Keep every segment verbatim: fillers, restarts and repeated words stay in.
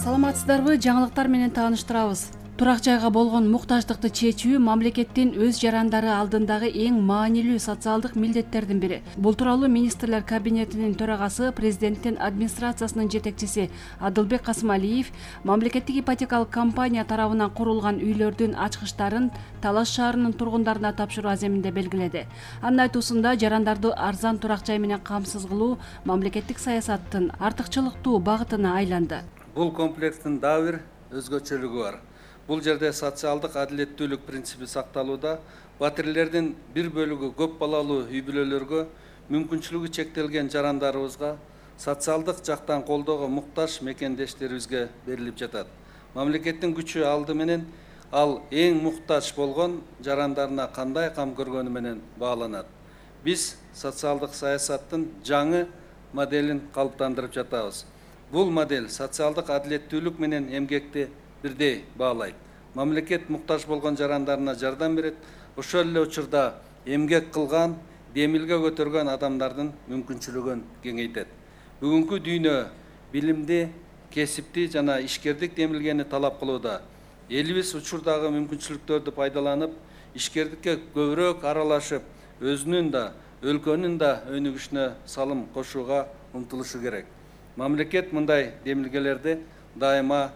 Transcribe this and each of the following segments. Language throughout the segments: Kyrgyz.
Саламатсыздарбы? Жаңылыктар менен тааныштырабыз. Турак жайга болгон муктаждыкты чечүү мамлекеттин өз жарандары алдындагы эң маанилүү социалдык милдеттердин бири. Бул тууралуу министрлер кабинетинин төрагасы, президенттин администрациясынын жетекчиси Адылбек Касымалиев мамлекеттик ипотекалык компания тарабынан курулган үйлөрдүн ачкычтарын Талас шаарынын тургундарына тапшыруу аземинде белгиледи. Анын айтуусунда жарандарды арзан турак жай менен камсыз кылуу мамлекеттик саясаттын артыкчылыктуу багытына айланды. Бул комплекстин дагы бир өзгөчөлүгү бар. Бул жерде социалдык адилеттүүлүк принципи сакталууда. Батирлердин бир бөлүгү көп балалуу үй бүлөлөргө, мүмкүнчүлүгү чектелген жарандарыбызга, социалдык жактан колдоого муктаж мекендештерибизге берилип жатат. Мамлекеттин күчү алды менен ал эң муктаж болгон жарандарына кандай кам көргөнү менен бааланат. Биз социалдык саясаттын жаңы моделин калыптандырып жатабыз. Бул модель социалдык адилеттүүлүк менен эмгекти бирдей баалайт. Мамлекет муктаж болгон жарандарына жардам берет. Ошол эле учурда эмгек кылган, демилге көтөргөн адамдардын мүмкүнчүлүгүн кеңейтет. Бүгүнкү дүйнө билимди, кесипти жана ишкердик демилгени талап кылууда. Элибиз учурдагы мүмкүнчүлүктөрдү пайдаланып, ишкердикке көбүрөөк аралашып, өзүнүн да, өлкөнүн да өнүгүшүнө салым кошууга умтулушу керек. Мамлекет мындай демилгелерди дайыма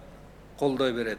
колдой берет.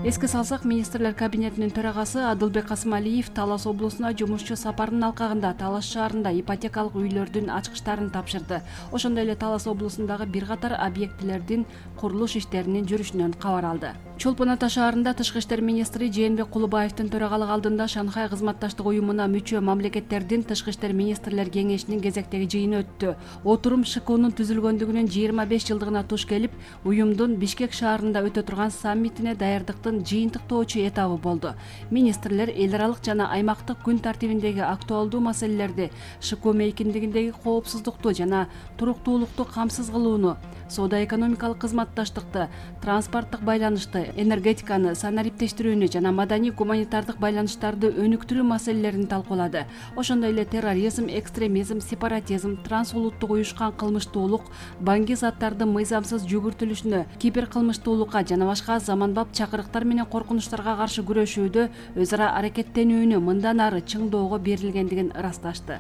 Эске салсак, министрлер кабинетинин төрагасы Адылбек Касымалиев Талас облусуна жумушчу сапарынын алкагында Талас шаарында ипотекалык үйлөрдүн ачкычтарын тапшырды. Ошондой эле Талас облусундагы бир катар объектилердин курулуш иштеринин жүрүшүнөн кабар алды. Чолпон Ата шаарында тышкы иштер министри Жээнбек Кулубаевдин төрагалыгы алдында Шанхай кызматташтык уюмуна мүчө мамлекеттердин тышкы иштер министрлер кеңешинин кезектеги жыйыны өттү. Отурум ШКУнун түзүлгөндүгүнүн жыйырма беш жылдыгына туш келип, уюмдун Бишкек шаарында өтө турган саммитине даярдыктын жыйынтыктоочу этабы болду. Министрлер эл аралык жана аймактык күн тартибиндеги актуалдуу маселелерди, ШКУ мейкиндигиндеги коопсуздукту жана туруктуулукту камсыз кылууну, соода-экономикалык кызматташтыкты, транспорттук байланышты, энергетиканы, санариптештирүүнү жана маданий-гуманитардык байланыштарды өнүктүрүү маселелерин талкуулады. Ошондой эле терроризм, экстремизм, сепаратизм, трансулуттук уюшкан кылмыштуулук, баңги заттардын мыйзамсыз жүгүртүлүшүнө, киберкылмыштуулукка жана башка заманбап чакырыктар менен коркунучтарга каршы күрөшүүдө өз ара аракеттенүүнү мындан ары чыңдоого берилгендигин ырасташты.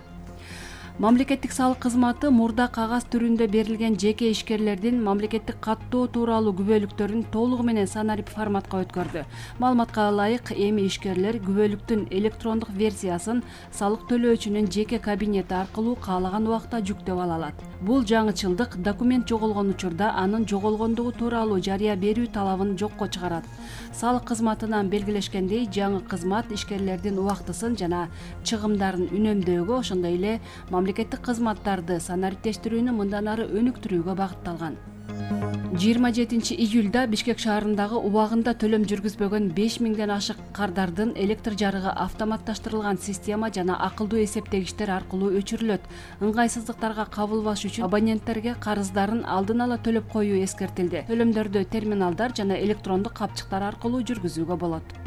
Мамлекеттик салык кызматы мурда кагаз түрүндө берилген жеке ишкерлердин мамлекеттик каттоо тууралуу күбөлүктөрүн толугу менен санарип форматка өткөрдү. Маалыматка ылайык, эми ишкерлер күбөлүктүн электрондук версиясын салык төлөөчүнүн жеке кабинети аркылуу каалаган убакта жүктөп ала алат. Бул жаңычылдык документ жоголгон учурда анын жоголгондугу тууралуу жарыя берүү талабын жокко чыгарат. Салык кызматынан белгилешкендей, жаңы кызмат ишкерлердин убактысын жана чыгымдарын үнөмдөөгө, ошондой эле мамлекеттик кызматтарды санариптештирүүнү мындан ары өнүктүрүүгө багытталган. жыйырма жетинчи июлда Бишкек шаарындагы убагында төлөм жүргүзбөгөн беш миңден ашык кардардын электр жарыгы автоматташтырылган система жана акылдуу эсептегичтер аркылуу өчүрүлөт. Ыңгайсыздыктарга кабылбаш үчүн абоненттерге карыздарын алдын ала төлөп коюу эскертилди. Төлөмдөрдү терминалдар жана электрондук капчыктар аркылуу жүргүзүүгө болот.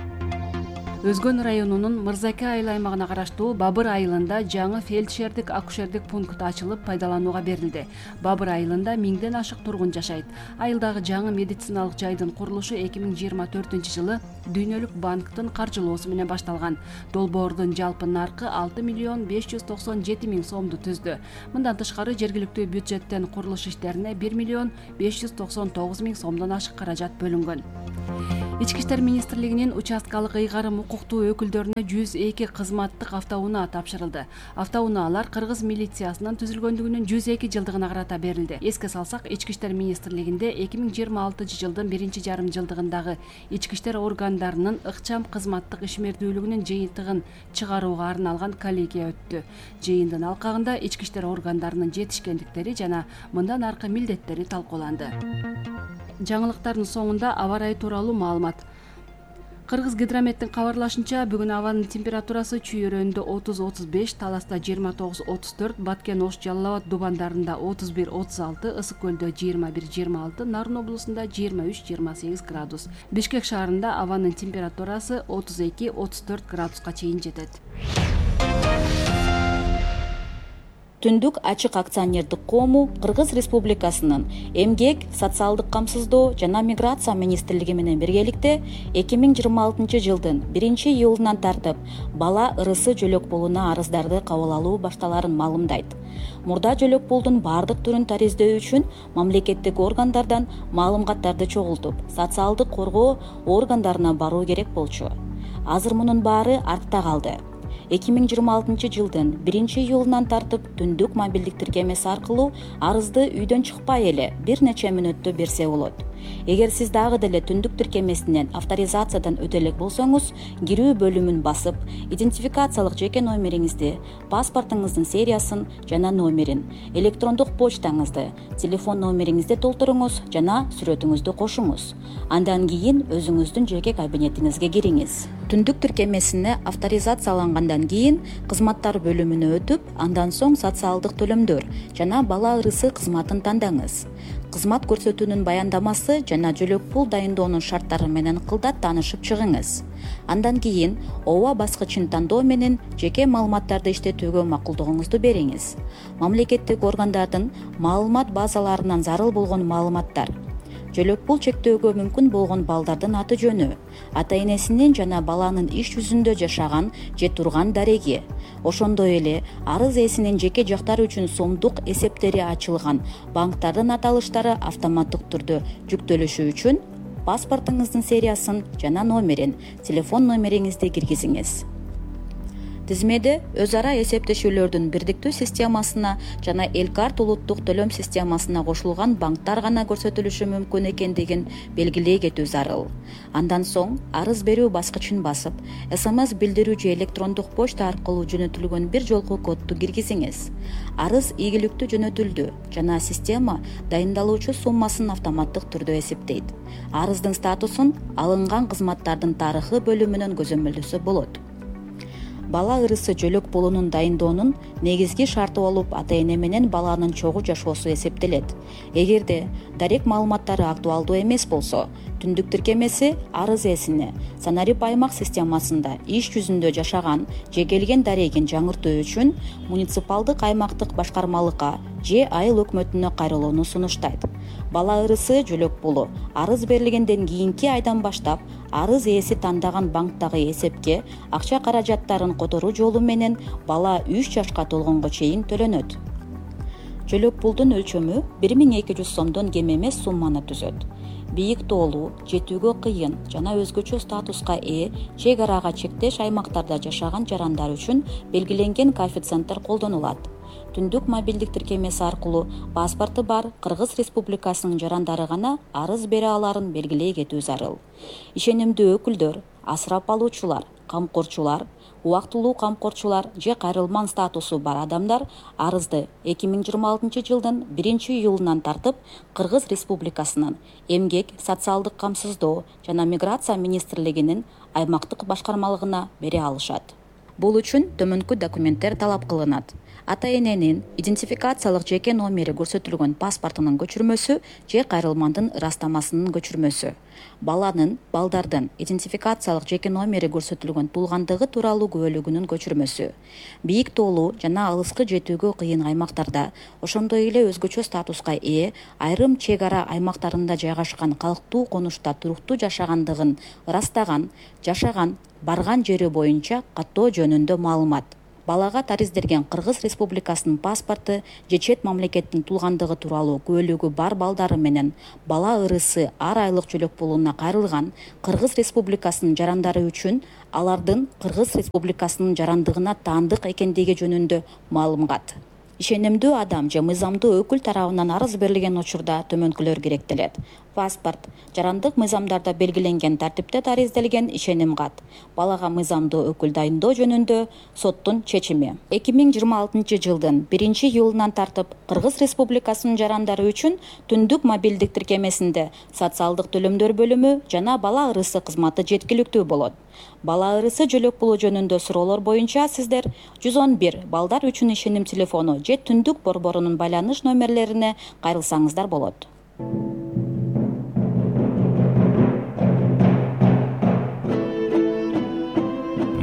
Өзгөн районунун Мырзаке айыл аймагына караштуу Бабыр айылында жаңы фельдшердик акушердик пункт ачылып пайдаланууга берилди. Бабыр айылында миңден ашык тургун жашайт. Айылдагы жаңы медициналык жайдын курулушу эки миң жыйырма төртүнчү жылы Дүйнөлүк банктын каржылоосу менен башталган. Долбоордун жалпы наркы алты миллион беш жүз токсон жети миң сомду түздү. Мындан тышкары жергиликтүү бюджеттен курулуш иштерине бир миллион беш жүз токсон тогуз миң сомдон ашык каражат бөлүнгөн. Ички иштер министрлигинин участкалык ыйгарым укуктуу өкүлдөрүнө жүз эки кызматтык автоунаа тапшырылды. Автоунаалар Кыргыз милициясынын түзүлгөндүгүнүн жүз эки жылдыгына карата берилди. Эске салсак, Ички иштер министрлигинде эки миң жыйырма алтынчы жылдын биринчи жарым жылдыгындагы ички иштер органдарынын ыкчам кызматтык ишмердүүлүгүнүн жыйынтыгын чыгарууга арналган коллегия өттү. Жыйындын алкагында ички иштер органдарынын жетишкендиктери жана мындан аркы милдеттери талкууланды. Жаңылыктардын соңунда аба ырайы тууралуу маалымат. Кыргыз гидрометтин кабарлашынча, бүгүн абанын температурасы Чүй өрөөнүндө отуз отуз беш, Таласта жыйырма тогуз отуз төрт, Баткен Ош Жалал Абад Дубандарында отуз бир отуз алты, Ысык көлдө жыйырма бир жыйырма алты, Нарын облусунда жыйырма үч жыйырма сегиз градус. Бишкек шаарында абанын температурасы отуз эки отуз төрт градуска чейин жетет. Түндүк ачык акционердик коому Кыргыз Республикасынын Эмгек, социалдык камсыздоо жана миграция министрлиги менен биргеликте эки миң жыйырма алтынчы жылдын биринчи июлунан тартып бала ырысы жөлөк пулуна арыздарды кабыл алуу башталарын маалымдайт. Мурда жөлөк пулдун бардык түрүн тариздөө үчүн мамлекеттик органдардан маалыматтарды чогултуп, социалдык коргоо органдарына баруу керек болчу. Азыр мунун баары артта калды. эки миң жыйырма алтынчы жылдын биринчи июлунан тартып түндүк мобилдик тиркемеси аркылуу арызды үйдөн чыкпай эле бир нече мүнөттө берсе болот. Эгер сиз дагы деле түндүк тиркемесинен авторизациядан өтө элек болсоңуз, кирүү бөлүмүн басып, идентификациялык жеке номериңизди, паспортуңуздун сериясын жана номерин, электрондук почтаңызды, телефон номериңизди толтуруңуз жана сүрөтүңүздү кошуңуз. Андан кийин өзүңүздүн жеке кабинетиңизге кириңиз. Түндүк тиркемесине авторизациялангандан кийин кызматтар бөлүмүнө өтүп, андан соң социалдык төлөмдөр жана бала ырысы кызматын тандаңыз. Кызмат көрсөтүүнүн баяндамасы жана жөлөк пул дайындоонун шарттары менен кылдат таанышып чыгыңыз. Андан кийин ооба баскычын тандоо менен жеке маалыматтарды иштетүүгө макулдугуңузду бериңиз. Мамлекеттик органдардын маалымат базаларынан зарыл болгон маалыматтар, жөлөк пул чектөөгө мүмкүн болгон балдардын аты жөнү, ата энесинин жана баланын иш жүзүндө жашаган же турган дареги, ошондой эле арыз ээсинин жеке жактары үчүн сомдук эсептери ачылган банктардын аталыштары автоматтык түрдө жүктөлүшү үчүн паспортуңуздун сериясын жана номерин, телефон номериңизди киргизиңиз. Тизмеде өз ара эсептешүүлөрдүн бирдиктүү системасына жана Элкарт улуттук төлөм системасына кошулган банктар гана көрсөтүлүшү мүмкүн экендигин белгилей кетүү зарыл. Андан соң арыз берүү баскычын басып, СМС билдирүү же электрондук почта аркылуу жөнөтүлгөн бир жолку кодду киргизиңиз. Арыз ийгиликтүү жөнөтүлдү жана система дайындалуучу суммасын автоматтык түрдө эсептейт. Арыздын статусун алынган кызматтардын тарыхы бөлүмүнөн көзөмөлдөсө болот. Бала ырысы жөлөк пулунун дайындоонун негизги шарты болуп ата эне менен баланын чогуу жашоосу эсептелет. Эгерде дарек маалыматтары актуалдуу эмес болсо, түндүк тиркемеси арыз ээсине Санарип аймак системасында иш жүзүндө жашаган же келген дарегин жаңыртуу үчүн муниципалдык аймактык башкармалыкка же айыл өкмөтүнө кайрылууну сунуштайт. Бала ырысы жөлөк пулу арыз берилгенден кийинки айдан баштап арыз ээси тандаган банктагы эсепке акча каражаттарын которуу жолу менен бала үч жашка толгонго чейин төлөнөт. Жөлөк пулдун өлчөмү бир миң эки жүз сомдон кем эмес сумманы түзөт. Бийик тоолуу, жетүүгө кыйын жана өзгөчө статуска ээ чек арага чектеш аймактарда жашаган жарандар үчүн белгиленген коэффициенттер колдонулат. Түндүк мобилдик тиркемеси аркылуу паспорту бар Кыргыз Республикасынын жарандары гана арыз бере аларын белгилей кетүү зарыл. Ишенимдүү өкүлдөр, асырап алуучулар, камкорчулар, убактылуу камкорчулар же кайрылман статусу бар адамдар арызды эки миң жыйырма алтынчы жылдын биринчи июлунан тартып Кыргыз Республикасынын Эмгек, социалдык камсыздоо жана миграция министрлигинин аймактык башкармалыгына бере алышат. Бул үчүн төмөнкү документтер талап кылынат. Ата эненин идентификациялык жеке номери көрсөтүлгөн паспортунун көчүрмөсү же кайрылмандын ырастамасынын көчүрмөсү. Баланын, балдардын идентификациялык жеке номери көрсөтүлгөн туулгандыгы тууралуу күбөлүгүнүн көчүрмөсү. Бийик тоолуу жана алыскы жетүүгө кыйын аймактарда, ошондой эле өзгөчө статуска ээ айрым чек ара аймактарында жайгашкан калктуу конушта туруктуу жашагандыгын ырастаган, жашаган, барган жери боюнча каттоо жөнүндө маалымат. Балага тариздерген Кыргыз Республикасынын паспорту же чет мамлекеттин туулгандыгы тууралуу күбөлүгү бар балдары менен бала ырысы ар айлык жөлөк пулуна кайрылган Кыргыз Республикасынын жарандары үчүн алардын Кыргыз Республикасынын жарандыгына таандык экендиги жөнүндө маалымат. Ишенимдүү адам же мыйзамдуу өкүл тарабынан арыз берилген учурда төмөнкүлөр керектелет. Паспорт, жарандык мыйзамдарда белгиленген тартипте таризделген ишеним кат, балага мыйзамдуу өкүл дайындоо жөнүндө соттун чечими. эки миң жыйырма алтынчы жылдын биринчи июлунан тартып Кыргыз Республикасынын жарандары үчүн түндүк мобилдик тиркемесинде социалдык төлөмдөр бөлүмү жана бала ырысы кызматы жеткиликтүү болот. Бала ырысы жөлөк пулу жөнүндө суроолор боюнча сиздер жүз он бир балдар үчүн ишеним телефону же түндүк борборунун байланыш номерлерине кайрылсаңыздар болот.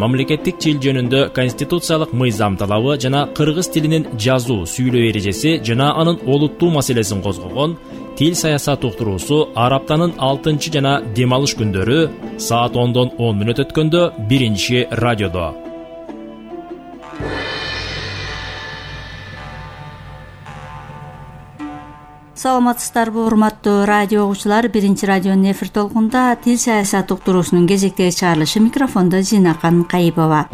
мамлекеттик тил жөнүндө конституциялык мыйзам талабы жана кыргыз тилинин жазуу, сүйлөө эрежеси жана анын олуттуу маселесин козгогон Тил саясат уктуруусу ар аптанын алтынчы жана дем алыш күндөрү саат ондон он мүнөт өткөндө биринчи радиодо. Саламатсыздарбы, урматтуу радио угуучулар. Биринчи радионун эфир толкунда тил саясат уктуруусунун кезектеги чыгарылышы. Микрофондо Зинакан Кайыпова.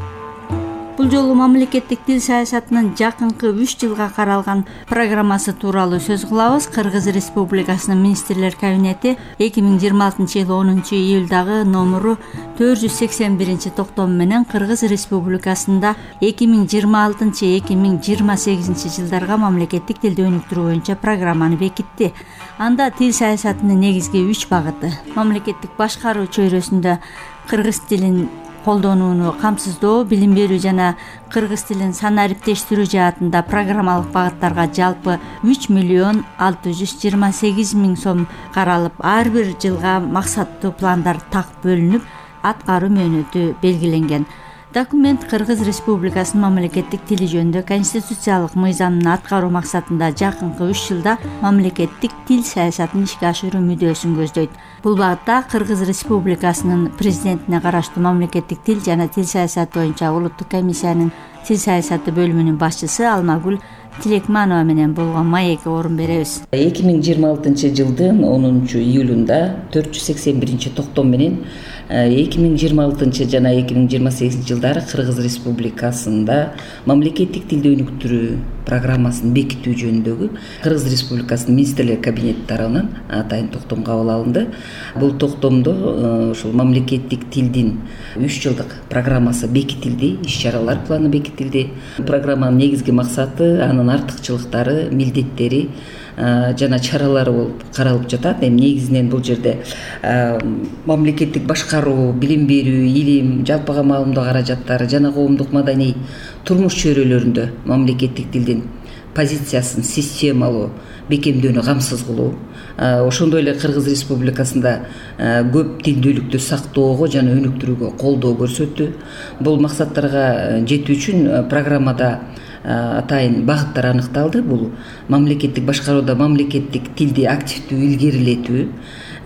Бул жолу мамлекеттик тил саясатынын жакынкы үч жылга каралган программасы тууралуу сөз кылабыз. Кыргыз Республикасынын министрлер кабинети эки миң жыйырма алтынчы жылы онунчу июлдагы номуру төрт жүз сексен биринчи токтому менен Кыргыз Республикасында эки миң жыйырма алтынчы — эки миң жыйырма сегизинчи жылдарга мамлекеттик тилди өнүктүрүү боюнча программаны бекитти. Анда тил саясатынын негизги үч багыты: мамлекеттик башкаруу чөйрөсүндө кыргыз тилин колдонууну камсыздоо, билим берүү жана кыргыз тилин санариптештирүү жаатында программалык багыттарга жалпы үч миллион алты жүз жыйырма сегиз миң сом каралып, ар бир жылга максаттуу пландар так бөлүнүп, аткаруу мөөнөтү белгиленген. Документ Кыргыз Республикасынын мамлекеттик тили жөнүндө конституциялык мыйзамын аткаруу максатында жакынкы үч жылда мамлекеттик тил саясатын ишке ашыруу мүдөөсүн көздөйт. Бул багытта Кыргыз Республикасынын президентине караштуу мамлекеттик тил жана тил саясаты боюнча улуттук комиссиянын тил саясаты бөлүмүнүн башчысы Алмагүл Тилекманова менен болгон маекке орун беребиз. эки миң жыйырма алтынчы жылдын онунчу июлунда төрт жүз сексен биринчи токтом менен эки миң жыйырма алтынчы жана эки миң жыйырма сегизинчи жылдары Кыргыз Республикасында мамлекеттик тилди өнүктүрүү программасын бекитүү жөнүндөгү Кыргыз Республикасынын министрлер кабинети тарабынан атайын токтом кабыл алынды. Бул токтомдо ушул мамлекеттик тилдин үч жылдык программасы бекитилди, иш-чаралар планы бекитилди. Программанын негизги максаты, анын артыкчылыктары, милдеттери жана чаралары болуп каралып жатат. Эми негизинен бул жерде мамлекеттик башкаруу, билим берүү, илим, жалпыга маалымдоо каражаттары жана коомдук маданий турмуш чөйрөлөрүндө мамлекеттик тилдин позициясын системалуу бекемдөөнү камсыз кылуу, ошондой эле Кыргыз Республикасында көп тилдүүлүктү сактоого жана өнүктүрүүгө колдоо көрсөттү. Бул максаттарга жетүү үчүн программада атайын багыттар аныкталды. Бул мамлекеттик башкарууда мамлекеттик тилди активдүү илгерилетүү,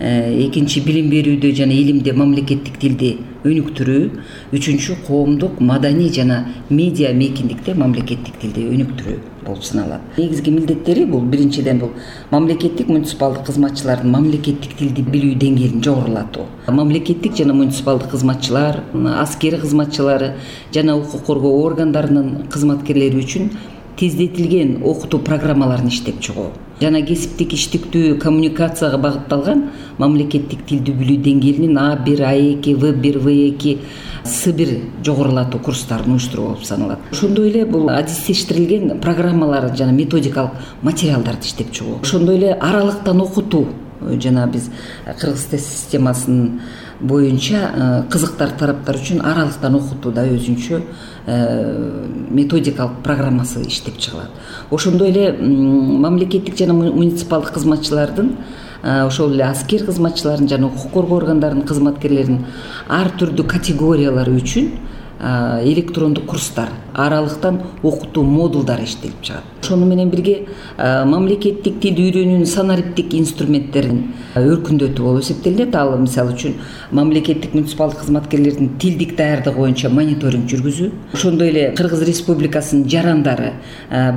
экинчи билим берүүдө жана илимде мамлекеттик тилди өнүктүрүү, үчүнчү коомдук маданий жана медиа мейкиндикте мамлекеттик тилди өнүктүрүү болуп саналат. Негизги милдеттери бул биринчиден бул мамлекеттик муниципалдык кызматчылардын мамлекеттик тилди билүү деңгээлин жогорулатуу. Мамлекеттик жана муниципалдык кызматчылар, аскери кызматчылары жана укук коргоо органдарынын кызматкерлери үчүн тездетилген окутуу программаларын иштеп чыгуу жана кесиптик иштиктүү коммуникацияга багытталган мамлекеттик тилди билүү деңгээлинин А бир, А эки, В бир, В эки, С бир жогорулатуу курстарын уюштуруу болуп саналат. Ошондой эле бул адистештирилген программалар жана методикалык материалдарды иштеп чыгуу. Ошондой эле аралыктан окутуу жана биз кыргыз тест системасынын боюнча кызыктар тараптар үчүн аралыктан окутуу да өзүнчө методикалык программасы иштеп чыгылат. Ошондой эле мамлекеттик жана муниципалдык кызматчылардын, ошол эле аскер кызматчыларын жана укук коргоо органдарынын кызматкерлеринин ар түрдүү категориялары үчүн электрондук курстар, аралыктан окутуу модулдары иштелип чыгат. Ошону менен бирге мамлекеттик тилди үйрөнүүнүн санариптик инструменттерин өркүндөтүү болуп эсептелинет. Ал мисалы үчүн мамлекеттик муниципалдык кызматкерлердин тилдик даярдыгы боюнча мониторинг жүргүзүү, ошондой эле Кыргыз Республикасынын жарандары,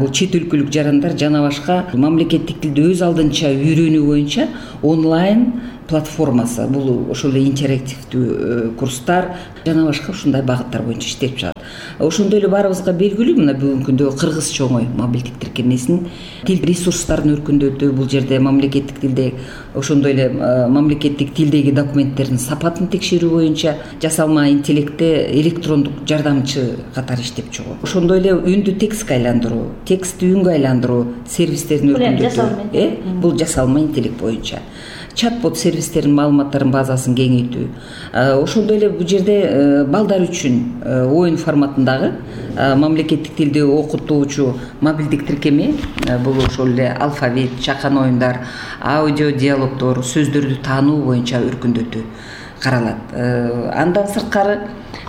бул чет өлкөлүк жарандар жана башка мамлекеттик тилди өз алдынча үйрөнүү боюнча онлайн платформасы, бул ошол эле интерактивдүү курстар жана башка ушундай багыттар боюнча иштеп чыгат. Ошондой эле баарыбызга белгилүү, мына бүгүнкү күндө кыргызча оңой мобилдик тиркемесинин тил ресурстарын өркүндөтүү, бул жерде мамлекеттик тилде ошондой эле мамлекеттик тилдеги документтердин сапатын текшерүү боюнча жасалма интеллектте электрондук жардамчы катары иштеп чыгуу. Ошондой эле үндү текстке айландыруу, текстти үнгө айландыруу сервистерин өркүндөтүү. Э, бул жасалма интеллект боюнча. Чат-бот сервистеринин маалыматтарын базасын кеңейтүү. Ошондой эле бул жерде балдар үчүн оюн форматындагы мамлекеттик тилди окутуучу мобилдик тиркеме, бул ошол эле алфавит, чакан оюндар, аудио диалогдор, сөздөрдү таануу боюнча өркүндөтүү. каралат. Андан сырткары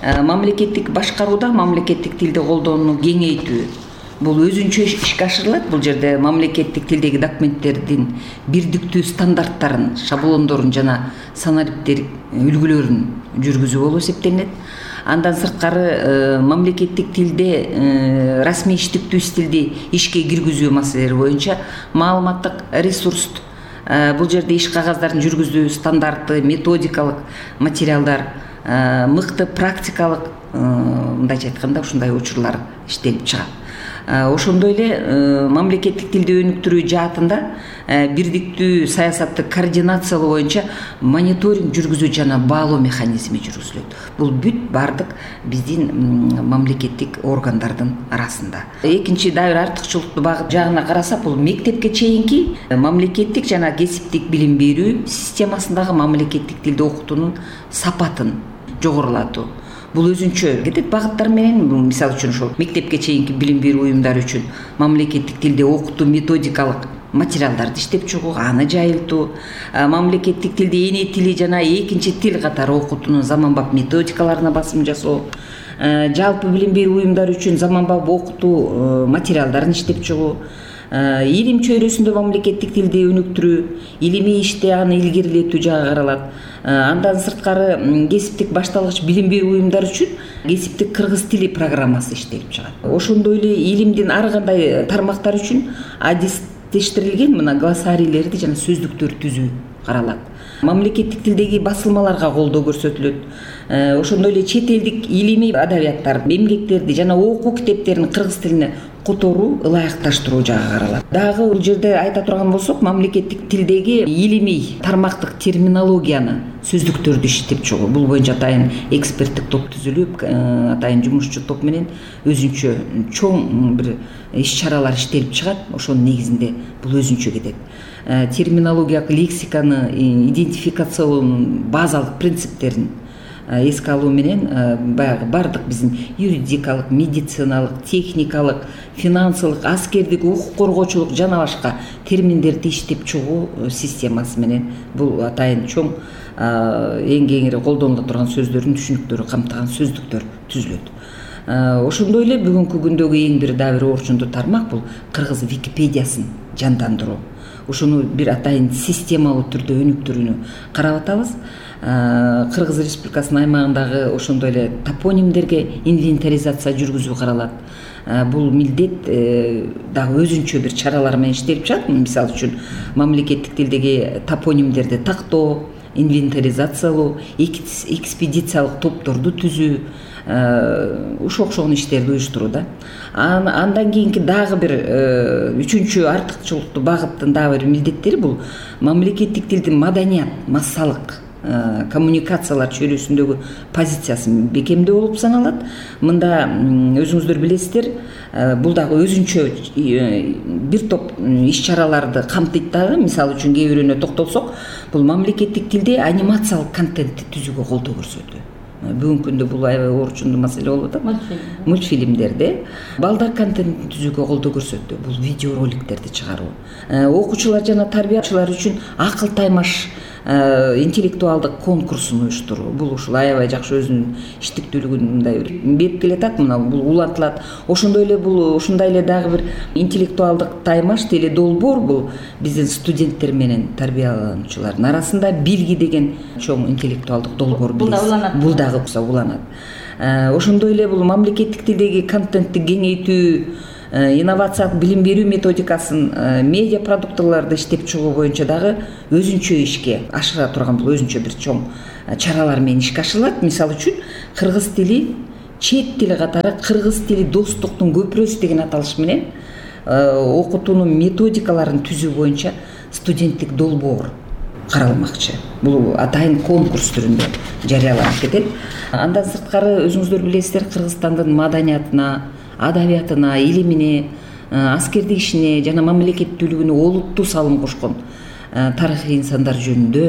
мамлекеттик башкарууда мамлекеттик тилди колдонууну кеңейтүү бул өзүнчө ишке ашырылат. Бул жерде мамлекеттик тилдеги документтердин бирдиктүү стандарттарын, шаблондорун жана санариптер үлгүлөрүн жүргүзүү болуп эсептелинет. Андан сырткары мамлекеттик тилде расмий иштиктүү стилди ишке киргизүү маселелери боюнча маалыматтык ресурс, бул жерде иш кагаздарын жүргүзүү стандарты, методикалык материалдар, мыкты практикалык, мындайча айтканда ушундай учурлар иштелип чыгат. Ошондой эле мамлекеттик тилди өнүктүрүү жаатында бирдиктүү саясатты координациялоо боюнча мониторинг жүргүзүү жана баалоо механизми жүргүзүлөт. Бул бүт бардык биздин мамлекеттик органдардын арасында. Экинчи дагы бир артыкчылыктуу багыт жагына карасак, бул мектепке чейинки мамлекеттик жана кесиптик билим берүү системасындагы мамлекеттик тилди окутуунун сапатын жогорулатуу. Бул өзүнчө кетет багыттар менен, мисалы үчүн ошол мектепке чейинки билим берүү уюмдары үчүн мамлекеттик тилде окутуу методикалык материалдарды иштеп чыгуу, аны жайылтуу, мамлекеттик тилде эне тили жана экинчи тил катары окутуунун заманбап методикаларына басым жасоо, жалпы билим берүү уюмдары үчүн заманбап окутуу материалдарын иштеп чыгуу, илим чөйрөсүндө мамлекеттик тилди өнүктүрүү, илимий иште аны илгерилетүү жагы каралат. Андан сырткары кесиптик башталгыч билим берүү уюмдары үчүн кесиптик кыргыз тили программасы иштелип чыгат. Ошондой эле илимдин ар кандай тармактары үчүн адистештирилген мына глоссарийлерди жана сөздүктөр түзүү каралат. Мамлекеттик тилдеги басылмаларга колдоо көрсөтүлөт. Ошондой эле чет элдик илимий адабияттар, эмгектерди жана окуу китептерин кыргыз тилине которуу, ылайыкташтыруу жагы каралат. Дагы бул жерде айта турган болсок, мамлекеттик тилдеги илимий тармактык терминологияны, сөздүктөрдү иштеп чыгуу. Бул боюнча атайын эксперттик топ түзүлүп, атайын жумушчу топ менен өзүнчө чоң бир иш-чаралар иштелип чыгат. Ошонун негизинде бул өзүнчө кетет. Терминологиялык лексиканы идентификациялоонун базалык принциптерин эске алуу менен баягы бардык биздин юридикалык, медициналык, техникалык, финансылык, аскердик, укук коргоочулук жана башка терминдерди иштеп чыгуу системасы менен бул атайын чоң эң кеңири колдонула турган сөздөрдүн түшүнүктөрү камтыган сөздүктөр түзүлөт. Ошондой эле бүгүнкү күндөгү эң бир дагы бир орчундуу тармак бул кыргыз Википедиясын жандандыруу. Ушуну бир атайын системалуу түрдө өнүктүрүүнү карап атабыз. Кыргыз Республикасынын аймагындагы ошондой эле топонимдерге инвентаризация жүргүзүү каралат. Бул милдет дагы өзүнчө бир чаралар менен иштелип чыгат. Мисалы үчүн мамлекеттик тилдеги топонимдерди тактоо, инвентаризациялоо, экспедициялык топторду түзүү, ушул окшогон иштерди уюштуруу да. Андан кийинки дагы бир үчүнчү артыкчылыктуу багыттын дагы бир милдеттери бул мамлекеттик тилдин маданият, массалык коммуникациялар чөйрөсүндөгү позициясы бекемдүү болуп саналат. Мында өзүңүздөр билесиздер, бул дагы өзүнчө бир топ иш-чараларды камтыйт дагы. Мисалы үчүн кээ бирөөнө токтолсок, бул мамлекеттик тилде анимациялык контентти түзүүгө колдоо көрсөтүү. Бүгүнкү күндө бул аябай орчундуу маселе болуп атат. Мультфильмдерди, балдар контентин түзүүгө колдоо көрсөтүү, бул видеороликтерди чыгаруу. Окуучулар жана тарбиячылар үчүн акыл таймаш интеллектуалдык конкурсун уюштуруу. Бул ушул аябай жакшы өзүнүн иштиктүүлүгүн мындай бир берип келатат. Мына бул улантылат. Ошондой эле бул ушундай эле дагы бир интеллектуалдык таймаш теле долбоор бул биздин студенттер менен тарбиялануучулардын арасында Билги деген чоң интеллектуалдык долбоор билесиз. Бул дагы уланат. Ошондой эле бул мамлекеттик тилдеги контентти кеңейтүү, инновациялык билим берүү методикасын, медиа продукцияларды иштеп чыгуу боюнча дагы өзүнчө ишке ашыра турган бул өзүнчө бир чоң чаралар менен ишке ашырылат. Мисалы үчүн кыргыз тили чет тили катары кыргыз тили достуктун көпүрөсү деген аталыш менен окутуунун методикаларын түзүү боюнча студенттик долбоор каралмакчы. Бул атайын конкурс түрүндө жарыяланып кетет. Андан сырткары өзүңүздөр билесиздер, Кыргызстандын маданиятына, адабиятына, илимине, аскердик ишине жана мамлекеттүүлүгүнө олуттуу салым кошкон тарыхый инсандар жөнүндө,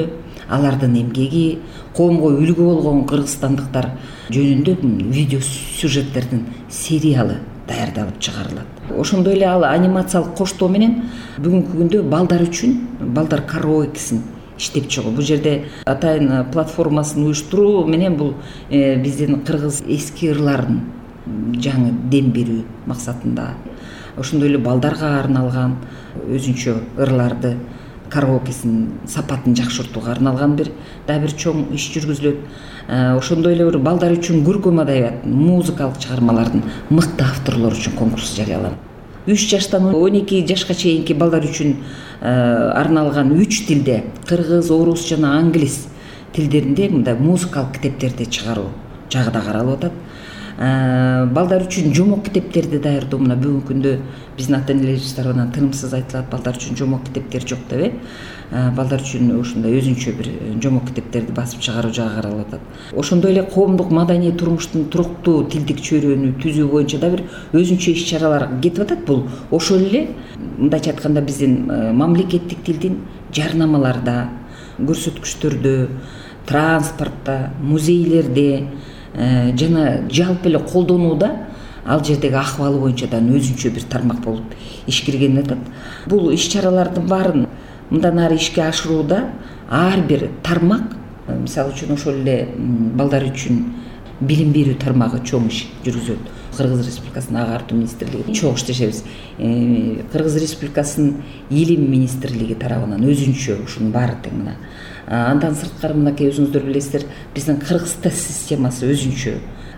алардын эмгеги, коомго үлгү болгон кыргызстандыктар жөнүндө видео сюжеттердин сериалы даярдалып чыгарылат. Ошондой эле ал анимациялык коштоо менен бүгүнкү күндө балдар үчүн балдар караокесин иштеп чыгуу. Бул жерде атайын платформасын уюштуруу менен бул биздин кыргыз эски ырларын жаңы дем берүү максатында, ошондой эле балдарга арналган өзүнчө ырларды караокесин сапатын жакшыртууга арналган бир дагы бир чоң иш жүргүзүлөт. Ошондой эле бир балдар үчүн көркөм адабият, музыкалык чыгармалардын мыкты авторлору үчүн конкурс жарыяланат. үч жаштан он эки жашка чейинки балдар үчүн арналган үч тилде кыргыз, орус жана англис тилдеринде мындай музыкалык китептерди чыгаруу жагы да каралып атат. Балдар үчүн жомок китептерди даярдоо, мына бүгүнкү күндө биздин ата-энелерибиз тарабынан тынымсыз айтылат, балдар үчүн жомок китептер жок деп э. Балдар үчүн ушундай өзүнчө бир жомок китептерди басып чыгаруу жагы каралып атат. Ошондой эле коомдук маданий турмуштун туруктуу тилдик чөйрөнү түзүү боюнча да бир өзүнчө иш чаралар кетип атат. Бул ошол эле мындайча айтканда биздин мамлекеттик тилдин жарнамаларда, көрсөткүчтөрдө, транспортто, музейлерде жана жалпы эле колдонууда ал жердеги акыбалы боюнча да өзүнчө бир тармак болуп ишкирген атат. Бул иш чаралардын баарын мындан ары ишке ашырууда ар бир тармак, мисалы үчүн ошол эле балдар үчүн билим берүү тармагы чоң иш жүргүзөт. Кыргыз Республикасынын агартуу министрлиги чоң иштешебиз. Кыргыз Республикасынын илим министрлиги тарабынан өзүнчө ушунун баары тең мына. Андан сырткары мынакей өзүңүздөр билесиздер, биздин кыргыз тест системасы өзүнчө.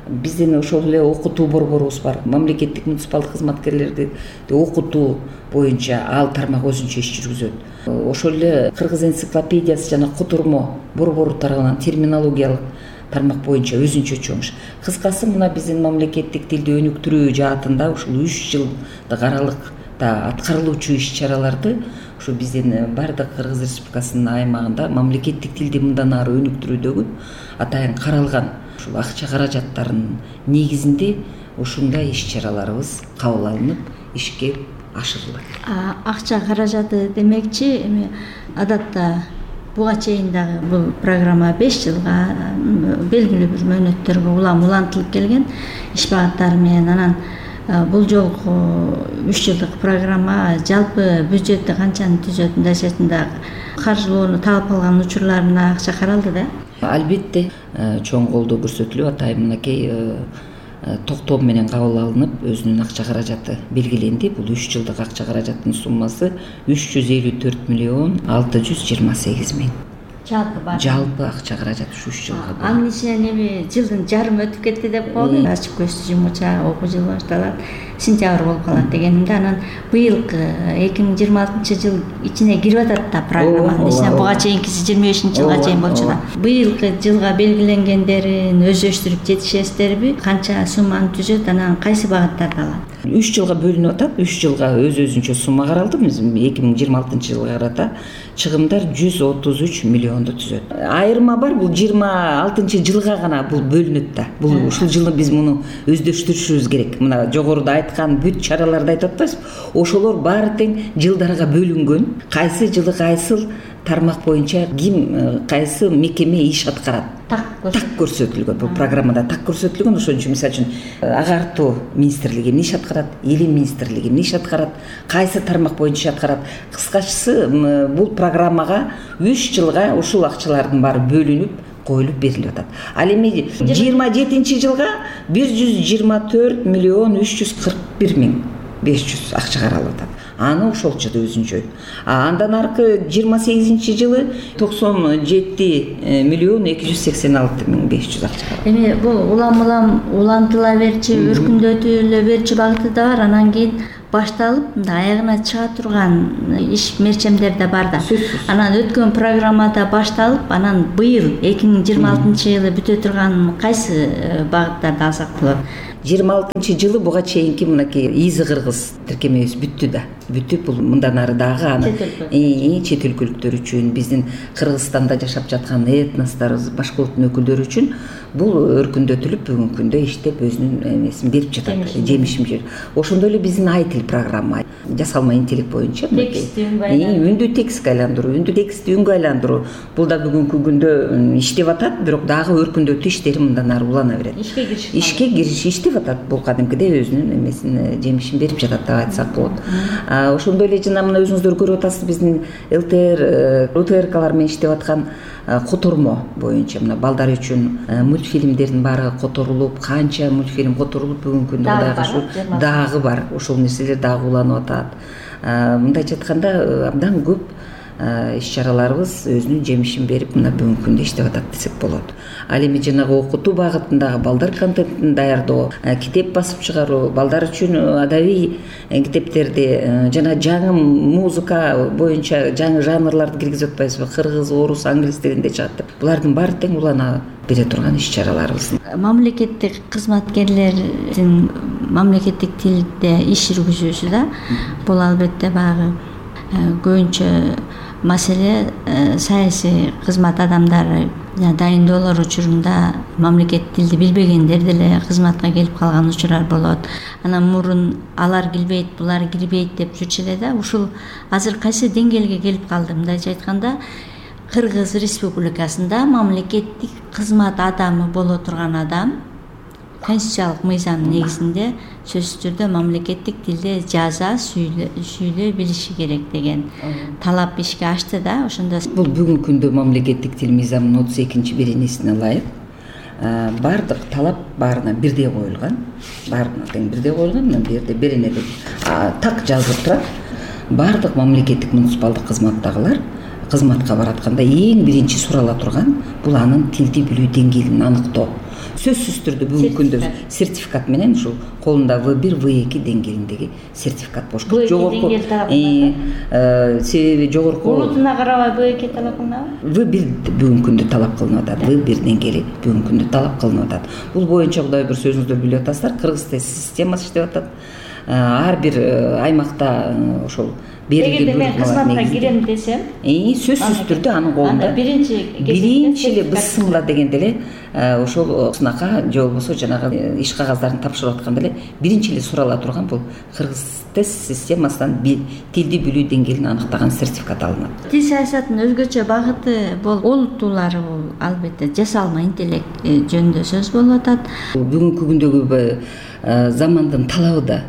Биздин ошол эле окутуу борборубуз бар. Мамлекеттик муниципалдык кызматкерлерди окутуу боюнча ал тармак өзүнчө иш жүргүзөт. Ошол эле кыргыз энциклопедиясы жана котурмо борбору тарабынан терминологиялык тармак боюнча өзүнчө чоң иш. Кыскасы мына биздин мамлекеттик тилди өнүктүрүү жаатында ушул үч жылдык аралыкта аткарылуучу иш чараларды ушу биздин бардык Кыргыз Республикасынын аймагында мамлекеттик тилди мындан ары өнүктүрүүдөгү атайын каралган ушул акча каражаттарынын негизинде ушундай иш чараларыбыз кабыл алынып ишке ашырылат. Акча каражаты демекчи, эми адатта буга чейин дагы бул программа беш жылга белгилүү бир мөөнөттөргө улам улантылып келген иш багыттары менен. Анан бул жолку үч жылдык программа жалпы бюджетти канчаны түзөт, мындай сертинде каржылоону талап кылган учурларына акча каралды да? Албетте чоң колдоо көрсөтүлүп, атайын мынакей токтом менен кабыл алынып өзүнүн акча каражаты белгиленди. Бул үч жылдык акча каражаттын суммасы үч жүз элүү төрт миллион алты жүз жыйырма сегиз миң. Жалпы бар. Жалпы акча каражат ушу үч жылга. Анын ичинен эми жылдын жарымы өтүп кетти деп коелу. Ачык көздүү жумуча окуу жылы башталат, сентябрь болуп калат дегенимде. Анан быйылкы эки миң жыйырма алтынчы жыл ичине кирип атат да программанын ичине. Буга чейинкиси жыйырма бешинчи жылга чейин болчу да. Быйылкы жылга белгиленгендерин өздөштүрүп жетишесиздерби? Канча сумманы түзөт, анан кайсы багыттарды алат? үч жылга бөлүнүп атат. үч жылга өз өзүнчө сумма каралды. эки миң жыйырма алтынчы жылга карата чыгымдар жүз отуз үч миллионду түзөт. Айырма бар, бул жыйырма алтынчы жылга гана бул бөлүнөт да. Бул ушул жылы биз муну өздөштүрүшүбүз керек. Мына жогоруда айткан бүт чараларды айтып атпайсызбы? Ошолор баары тең жылдарга бөлүнгөн. Кайсы жылы кайсыл тармак боюнча ким кайсы мекеме иш аткарат так көрсөтүлгөн. Бул программада так көрсөтүлгөн. Ошон үчүн мисалы үчүн агартуу министрлиги эмне иш аткарат, илим министрлиги эмне иш аткарат, кайсы тармак боюнча аткарат. Кыскачасы бул программага үч жылга ушул акчалардын баары бөлүнүп коюлуп берилип атат. Ал эми жыйырма жетинчи жылга бир жүз жыйырма төрт миллион үч жүз кырк бир миң беш жүз акча каралып атат. Аны ошолчу да өзүнчө. А андан аркы жыйырма сегизинчи жылы токсон жети миллион эки жүз сексен алты миң беш жүз акча. Эми бул улам-улам улантыла берчи, өркүндөтүлө берчи багыты да бар. Анан кийин башталып, аягына чыга турган иш мерчемдер да бар да. Анан өткөн программада башталып, анан быйыл эки миң жыйырма алтынчы жылы бүтө турган кайсы багыттарды алсак болот? жыйырма алтынчы жылы буга чейинки мынакей Изы Кыргыз тиркемебиз бүттү да. Бүтүп бул мындан ары дагы аны чет өлкөлүктөр үчүн, биздин Кыргызстанда жашап жаткан этносторубуз, башка улуттун өкүлдөрү үчүн бул өркүндөтүлүп бүгүнкү күндө иштеп өзүнүн эмесин берип жатат, жемишин берип. Ошондой эле биздин айтил программа жасалма интеллект боюнча үндү текстке айландыруу, үндү текстти үнгө айландыруу. Бул да бүгүнкү күндө иштеп атат, бирок дагы өркүндөтүү иштери мындан ары улана берет. Ишке киришип ишке киришишти. иштеп атат. Бул кадимкидей өзүнүн эмесин жемишин берип жатат деп айтсак болот. Ошондой эле жана мына өзүңүздөр көрүп атасыз, биздин ЛТР, УТРКлар менен иштеп аткан котормо боюнча мына балдар үчүн мультфильмдердин баары которулуп, канча мультфильм которулуп бүгүнкү күндө дагы ушу дагы бар. Ошол нерселер дагы уланып атат. Мындайча айтканда абдан көп иш-чараларыбыз өзүнүн жемишин берип мына бүгүнкү күндө иштеп атат десек болот. Ал эми жанагы окутуу багытындагы балдар контентин даярдоо, китеп басып чыгаруу, балдар үчүн адабий китептерди жана жаңы музыка боюнча жаңы жанрларды киргизип атпайбызбы? Кыргыз, орус, англис тилинде чыгат деп. Булардын баары тең улана бере турган иш-чараларыбыз. Мамлекеттик кызматкерлердин мамлекеттик тилде иш жүргүзүүсү да бул албетте баягы көбүнчө маселе саясий кызмат адамдары дайындоолор учурунда мамлекеттик тилди билбегендер деле кызматка келип калган учурлар болот. Анан мурун алар килбейт, булар кирбейт деп жүрчү эле да. Ушул азыр кайсы деңгээлге келип калды? Мындайча айтканда, Кыргыз Республикасында мамлекеттик кызмат адамы боло турган адам конституциялык мыйзам негизинде сөзсүз түрдө мамлекеттик тилде жаза, сүйлөй билиши керек деген талап ишке ашты да. Ошондо бул бүгүнкү күндө мамлекеттик тил мыйзамынын отуз экинчи беренесине ылайык баардык талап баарына бирдей коюлган. Баарына тең бирдей коюлган. Мына бу жерде беренеде так жазылып турат. Баардык мамлекеттик муниципалдык кызматтагылар кызматка баратканда эң биринчи сурала турган бул анын тилди билүү деңгээлин аныктоо. Сөзсүз түрдө бүгүнкү күндө сертификат менен ушул колунда вэ бир, вэ эки деңгээлиндеги сертификат болуш керек. Жогорку себеби жогорку улутуна карабай вэ эки талап кылынабы? вэ бир бүгүнкү күндө талап кылынып атат. вэ бир деңгээли бүгүнкү күндө талап кылынып атат. Бул боюнча Кудай бир сөзүңүздөр билип атасыздар, кыргыз тест системасы иштеп атат. Ар бир аймакта ошол эгерде мен кызматка кирем десем, сөзсүз түрдө анын колунда биринчи биринчи эле бысымла дегенде эле ошол сынака же болбосо жанагы иш кагаздарын тапшырып атканда эле биринчи эле сурала турган бул кыргыз тест системасынан тилди билүү деңгээлин аныктаган сертификат алынат. Тил саясатынын өзгөчө багыты бул олуттуулары бул албетте жасалма интеллект жөнүндө сөз болуп атат. Бүгүнкү күндөгү замандын талабы да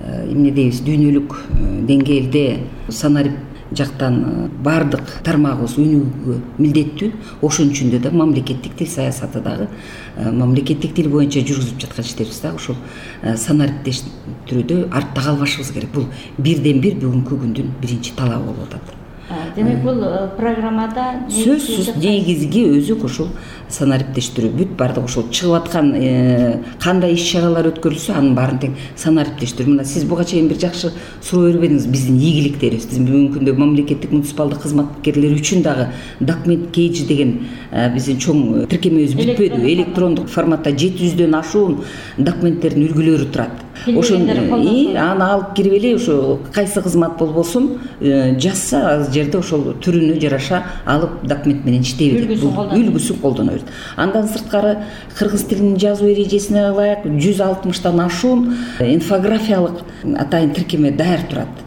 эмне дейбиз, дүйнөлүк деңгээлде санарип жактан баардык тармагыбыз өнүгүүгө милдеттүү. Ошон үчүн да мамлекеттик тил саясаты дагы мамлекеттик тил боюнча жүргүзүп жаткан иштерибиз дагы ушул санариптештирүүдө артта калбашыбыз керек. Бул бирден бир бүгүнкү күндүн биринчи талабы болуп атат. Демек бул программада сөзсүз негизги өзүк ушул санариптештирүү. Бүт баардык ушул чыгып аткан кандай иш-чаралар өткөрүлсө анын баарын тең санариптештирүү. Мына сиз буга чейин бир жакшы суроо бербедиңиз. Биздин ийгиликтерибиз, биздин бүгүнкү күндө мамлекеттик муниципалдык кызматкерлер үчүн дагы документ кейдж деген биздин чоң тиркемебиз бүтпөдү. Электрондук форматта жети жүздөн ашуун документтердин үлгүлөрү турат. Ошону аны алып кирип эле ошо кайсы кызмат болбосун жазса ал жерде ошол түрүнө жараша алып документ менен иштей берет. Үлгүсүн колдоно берет. Андан сырткары кыргыз тилинин жазуу эрежесине ылайык жүз алтымыштан ашуун инфографиялык атайын тиркеме даяр турат.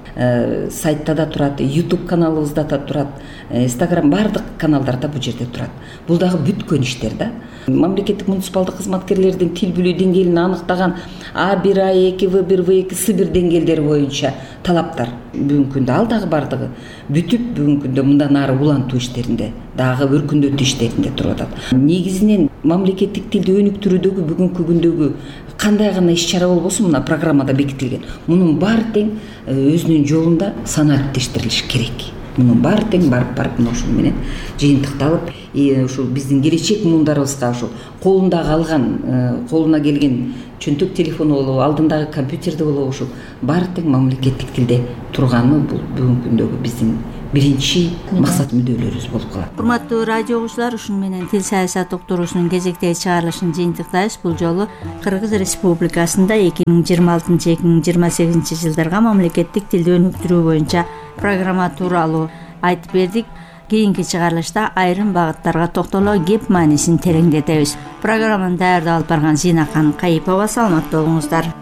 Сайтта да турат, YouTube каналыбызда да турат, Instagram баардык каналдарда бул жерде турат. Бул дагы бүткөн иштер да. Мамлекеттик муниципалдык кызматкерлердин тил билүү деңгээлин аныктаган А бир, А эки, вэ бир, вэ эки, С бир деңгээлдери боюнча талаптар бүгүнкү күндө ал дагы баардыгы бүтүп бүгүнкү күндө мындан ары улантуу иштеринде дагы өркүндөтүү иштеринде туруп атат. Негизинен мамлекеттик тилди өнүктүрүүдөгү бүгүнкү күндөгү кандай гана иш-чара болбосун мына программада бекитилген. Мунун баары тең өзүнүн жолунда санариптештирилиш керек. Мунун баары тең барып барып мына ушул менен жыйынтыкталып, ушул биздин келечек муундарыбызга ушул колундагы алган, колуна келген чөнтөк телефону болобу, алдындагы компьютерде болобу ушул баары тең мамлекеттик тилде турганы бул бүгүнкү күндөгү биздин биринчи максат мүддөөлөрүбүз болуп калат. Урматтуу радио угуучулар, ушун менен тил саясат уктуруусунун кезектеги чыгарылышын жыйынтыктайбыз. Бул жолу Кыргыз Республикасында эки миң жыйырма алтынчы эки миң жыйырма сегизинчи жылдарга мамлекеттик тилди өнүктүрүү боюнча программа тууралуу айтып бердик. Кийинки чыгарылышта айрым багыттарга токтоло кеп маанисин тереңдетебиз. Программаны даярдап алып барган Зинакан Кайыпова. Саламатта болуңуздар.